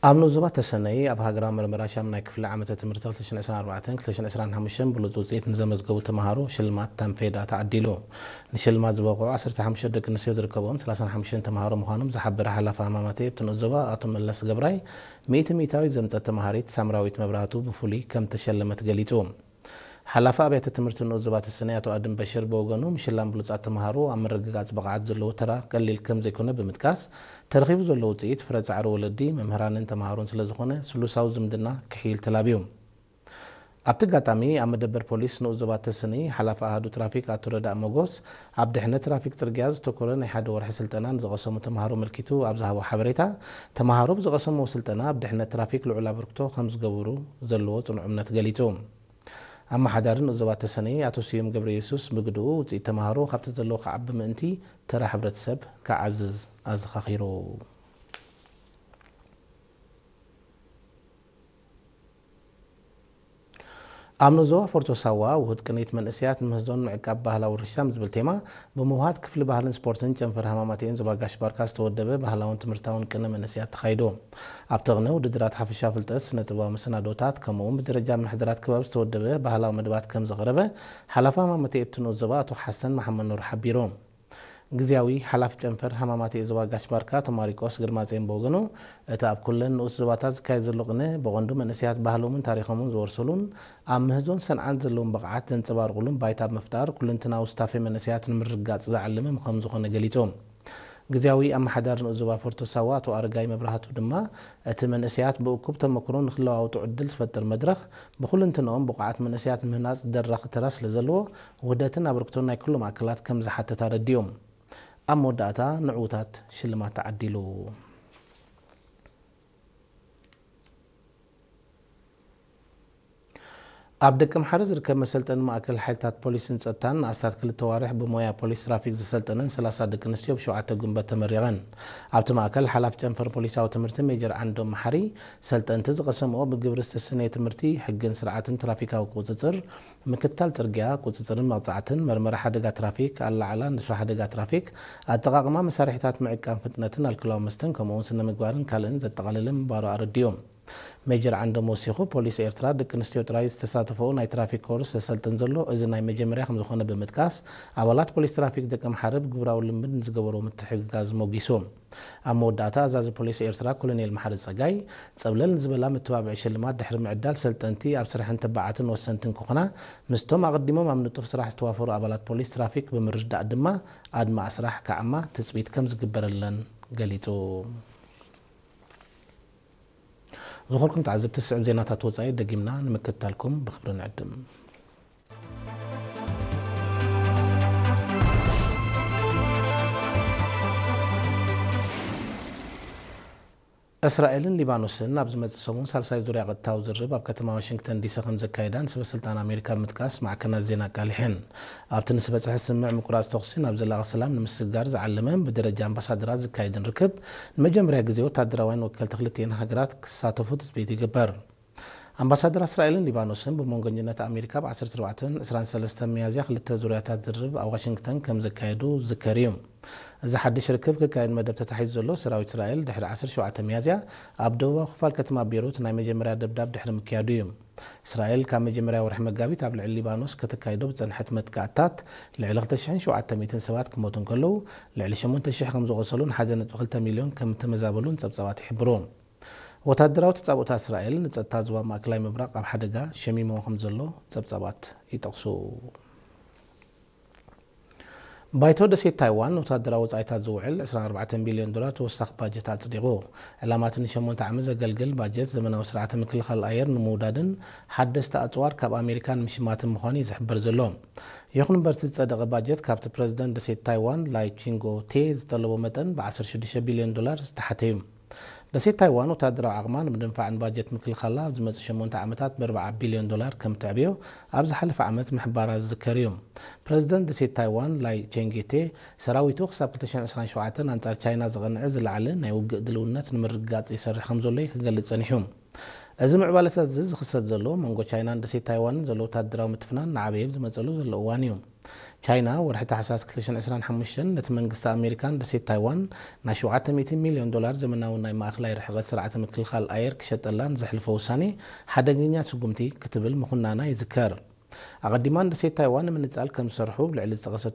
ኣብ ንኡስ ዞባ ተሰነይ ኣብ ሃገራዊ መርመራ ሻምናይ ክፍሊ ዓመተ ትምህርቲ ክልተ ሽሕን ዕስራን ኣርባዕተን ክልተ ሽሕን ዕስራን ሓሙሽተን ብሉጽ ውጽኢት ንዘመዝገቡ ተምሃሮ ሽልማት ታንፌዳ ተዓዲሉ። ንሽልማት ዝበቕዑ ዓሰርተ ሓሙሽተ ደቂ ኣንስትዮ ዝርከብኦም ሰላሳን ሓሙሽተን ተምሃሮ ምዃኖም ዝሓበረ ሓላፊ ሃማማተኤ ኣብቲ ንኡስ ዞባ ኣቶ መለስ ገብራይ፣ ሚእቲ ሚእታዊት ዘምጸት ተምሃሪት ሳምራዊት መብራህቱ ብፍሉይ ከም ተሸለመት ገሊጹ። ሓላፊ ኣብያተ ትምህርቲ ንኡስ ዞባ ተሰነይ ኣቶ ኣድም በሽር ብወገኑ፣ ምሽላም ብሉጻት ተምሃሮ ኣብ ምርግጋጽ ብቕዓት ዘለዎ ተራ ቀሊል ከም ዘይኮነ ብምጥቃስ፣ ተረኺቡ ዘሎ ውጽኢት ፍረ ጻዕሪ ወለዲ፣ መምህራንን ተምሃሮን ስለ ዝኾነ፣ ስሉሳዊ ዝምድና ክሕይል ተላብዩ። ኣብቲ ኣጋጣሚ፣ ኣብ መደበር ፖሊስ ንኡስ ዞባ ተሰነይ ሓላፊ ኣሃዱ ትራፊክ ኣቶ ረዳእ መጎስ፣ ኣብ ድሕነት ትራፊክ ጽርግያ ዘተኮረ ናይ ሓደ ወርሒ ስልጠና ንዝቐሰሙ ተምሃሮ ኣመልኪቱ ኣብ ዝሃቦ ሓበሬታ፣ ተምሃሮ ብዝቐሰምዎ ስልጠና ኣብ ድሕነት ትራፊክ ልዑል ኣበርክቶ ከም ዝገብሩ ዘለዎ ጽኑዕ እምነት ገሊጹ። ኣመሓዳሪ ንኡስ ዞባ ተሰነይ ኣቶ ስዩም ገብረየሱስ ብግድኡ፣ ውጽኢት ተምሃሮ ካብቲ ዘለዎ ክዓቢ ምእንቲ ተራ ሕብረተሰብ ክዓዝዝ ኣዘኻኺሩ። ኣብ ንኡስ ዞባ ፎርቶ ሳዋ ውሁድ ቅኒት መንእሰያት ንምህዞን ምዕቃብ ባህላዊ ውርሻ ዝብል ቴማ ብምውሃድ ክፍሊ ባህልን ስፖርትን ጨንፈር ሃማማተኤን ዞባ ጋሽ ባርካ ዝተወደበ ባህላውን ትምህርታውን ቅነ መንእሰያት ተኻይዱ። ኣብቲ ቅነ ውድድራት ሓፈሻ ፍልጠት፣ ስነ ጥበባዊ መሰናዶታት፣ ከምኡ እውን ብደረጃ ምሕደራት ክበብ ዝተወደበ ባህላዊ መደባት ከም ዝቐረበ ሓላፊ ሃማማተኤ ኣብቲ ንኡስ ዞባ ኣቶ ሓሰን መሓመድ ኑር ሓቢሩ። ግዝያዊ ሓላፊ ጨንፈር ሃማማተኤ ዞባ ጋሽ ባርካ ኣቶ ማሪቆስ ግርማጼን ብወገኑ፣ እቲ ኣብ ኩለን ንኡስ ዞባታት ዝካየድ ዘሎ ቅነ ብቐንዱ መንእሰያት ባህሎምን ታሪኾምን ዝወርሱሉን ኣብ ምህዞን ሰንዓን ዘለዎም ብቕዓት ዘንጸባርቑሉን ባይታ ብምፍጣር ኩለንትናዊ ስታፌ መንእሰያት ንምርግጋጽ ዝዓለመ ከም ዝኾነ ገሊጹ። ግዝያዊ ኣመሓዳሪ ንኡስ ዞባ ፎርቶ ሳዋ ኣቶ ኣረጋይ መብራህቱ ድማ፣ እቲ መንእሰያት ብእኩብ ተመክሮ ንክለዋወጡ ዕድል ዝፈጥር መድረኽ፣ ብኹለንትንኦም ብቑዓት መንእሰያት ምህናጽ ደራኺ ተራ ስለ ዘለዎ፣ ውህደትን ኣበርክቶን ናይ ኩሎም ኣካላት ከም ዝሓትት ኣረዲኦም። ኣብ መወዳእታ ንዕዉታት ሽልማት ተዓዲሉ። ኣብ ደቀምሓረ ዝርከብ መሰልጠኒ ማእከል ሓይልታት ፖሊስን ጸጥታን ንኣስታት ክልተ ኣዋርሕ ብሞያ ፖሊስ ትራፊክ ዘሰልጠነን ሰላሳ ደቂ ኣንስትዮ ብሸውዓተ ጉንበት ተመሪቐን። ኣብቲ ማእከል ሓላፊ ጨንፈር ፖሊሳዊ ትምህርቲ ሜጀር ዓንዶም መሓሪ፣ ሰልጠንቲ ዝቐሰምኦ ብግብሪ ዝተሰነየ ትምህርቲ፣ ሕግን ስርዓትን ትራፊካዊ ቁጽጽር፣ ምክትታል ጽርግያ፣ ቁጽጽርን መቕጻዕትን፣ መርመራ ሓደጋ ትራፊክ፣ ኣላዓዕላ ንጥፈ ሓደጋ ትራፊክ፣ ኣጠቓቕማ መሳርሒታት ምዕቃን ፍጥነትን ኣልኮላዊ መስተን፣ ከምኡ'ውን ስነ ምግባርን ካልእን ዘጠቓለለ ምንባሩ ኣረዲኦም። ሜጀር ዓንዶም ወሲኹ፣ ፖሊስ ኤርትራ ደቂ ኣንስትዮ ጥራይ ዝተሳተፈኦ ናይ ትራፊክ ኮርስ ዘሰልጥን ዘሎ እዚ ናይ መጀመርያ ከም ዝኾነ ብምጥቃስ፣ ኣባላት ፖሊስ ትራፊክ ደቀምሓረ ብግብራዊ ልምምድ ንዝገበርዎ ምትሕግጋዝ ሞጊሱ። ኣብ መወዳእታ፣ ኣዛዚ ፖሊስ ኤርትራ ኮሎኔል መሓሪ ጸጋይ፣ ጸብለል ንዝበላ መተባብዒ ሽልማት ድሕሪ ምዕዳል፣ ሰልጠንቲ ኣብ ስራሕን ተባዓትን ወሰንትን ክኾና፣ ምስቶም ኣቐዲሞም ኣብ ንጡፍ ስራሕ ዝተዋፈሩ ኣባላት ፖሊስ ትራፊክ ብምርድዳእ ድማ፣ ኣድማዒ ስራሕ ክዓማ ትጽቢት ከም ዝግበረለን ገሊጹ። ዝኸበርኩም ተዓዘብቲ፣ ዝስዕብ ዜናታት ወጻኢ ደጊምና ንምክትታልኩም ብኽብሪ ንዕድም። እስራኤልን ሊባኖስን ኣብ ዝመጽእ ሰሙን ሳልሳይ ዙርያ ቀጥታዊ ዝርርብ ኣብ ከተማ ዋሽንግተን ዲሲ ከም ዘካይዳ ንሰበ ስልጣን ኣሜሪካ ብምጥቃስ ማዕከናት ዜና ኣቃሊሐን። ኣብቲ ንዝበጽሐ ስምምዕ ምቁራጽ ተኹሲ ናብ ዘላቒ ሰላም ንምስግጋር ዝዓለመን ብደረጃ ኣምባሳደራት ዝካየድን ርክብ፣ ንመጀመርያ ግዜ ወታደራውያን ወከልቲ ክልቲኤን ሃገራት ክሳተፉ ትጽቢት ይግበር። ኣምባሳደር እስራኤልን ሊባኖስን ብመንጎኛነት ኣሜሪካ ብ ዓሰርተ ኣርባዕተን ዕስራን ሰለስተን ሚያዝያ ክልተ ዙርያታት ዝርርብ ኣብ ዋሽንግተን ከም ዘካየዱ ዝዝከር እዩ። እዚ ሓድሽ ርክብ ክካየድ መደብ ተታሒዙ ዘሎ፣ ሰራዊት እስራኤል ድሕሪ ዓሰርተ ሸውዓተ ሚያዝያ ኣብ ደቡባዊ ክፋል ከተማ ቤይሩት ናይ መጀመርያ ደብዳብ ድሕሪ ምክያዱ እዩ። እስራኤል ካብ መጀመርያ ወርሒ መጋቢት ኣብ ልዕሊ ሊባኖስ ከተካይዶ ብዝጸንሐት መጥቃዕትታት ልዕሊ ክልተ ሽሕን ሸውዓተ ሚእትን ሰባት ክሞቱ እንከለዉ፣ ልዕሊ ሸሞንተ ሽሕ ከም ዝቖሰሉን ሓደ ነጥቢ ክልተ ሚልዮን ከም እተመዛበሉን ጸብጻባት ይሕብሩ። ወታደራዊ ተጻብኦታት እስራኤል ንጸጥታ ዞባ ማእከላይ ምብራቕ ኣብ ሓደጋ ሸሚምዎ ከም ዘሎ ጸብጻባት ይጠቕሱ። ባይቶ ደሴት ታይዋን ንወታደራዊ ወጻኢታት ዝውዕል ዕስራን ኣርባዕተን ቢልዮን ዶላር ተወሳኺ ባጀት ኣጽዲቑ። ዕላማ እቲ ንሸሞንተ ዓመት ዘገልግል ባጀት፣ ዘመናዊ ስርዓተ ምክልኻል ኣየር ንምውዳድን ሓደስቲ ኣጽዋር ካብ ኣሜሪካ ንምሽማትን ምዃኑ እዩ ዝሕበር ዘሎ። ይኹን እምበር፣ እቲ ዝጸደቐ ባጀት ካብቲ ፕረዚደንት ደሴት ታይዋን ላይ ቺንጎ ቴ ዝጠለቦ መጠን ብ ዓሰርተ ሽዱሽተ ቢልዮን ዶላር ዝተሓተ እዩ። ደሴት ታይዋን ወታደራዊ ዓቕማ ንምድንፋዕን ባጀት ምክልኻላ ኣብ ዝመጽእ ሸሞንተ ዓመታት ብኣርባዓ ቢልዮን ዶላር ከም እተዕብዮ ኣብ ዝሓለፈ ዓመት ምሕባራ ዝዝከር እዩ። ፕረዚደንት ደሴት ታይዋን ላይ ቼንጌቴ፣ ሰራዊቱ ክሳብ ክልተ ሽሕን ዕስራን ሸውዓተን ኣንጻር ቻይና ዝቐንዐ ዝለዓለ ናይ ውግእ ድልውነት ንምርግጋጽ ይሰርሕ ከም ዘሎ እዩ ክገልጽ ጸኒሑ። እዚ ምዕባለታት እዚ ዝኽሰት ዘሎ፣ መንጎ ቻይናን ደሴት ታይዋንን ዘሎ ወታደራዊ ምትፍናን እናዓበየ ኣብ ዝመጸሉ ዘሎ እዋን እዩ። ቻይና ወርሒ ታሕሳስ ክልተ ሽሕን ዕስራን ሓሙሽተን ነቲ መንግስቲ ኣሜሪካን ደሴት ታይዋን ናይ ሸውዓተ ሚእቲ ሚልዮን ዶላር ዘመናዊ ናይ ማእኸላይ ርሕቐት ስርዓተ ምክልኻል ኣየር ክሸጠላን ዘሕልፎ ውሳኔ ሓደገኛ ስጉምቲ ክትብል ምኹናና ይዝከር። ኣቐዲማ ንደሴት ታይዋን ንምንጻል ከም ዝሰርሑ ብልዕሊ ዝጠቐሰቶ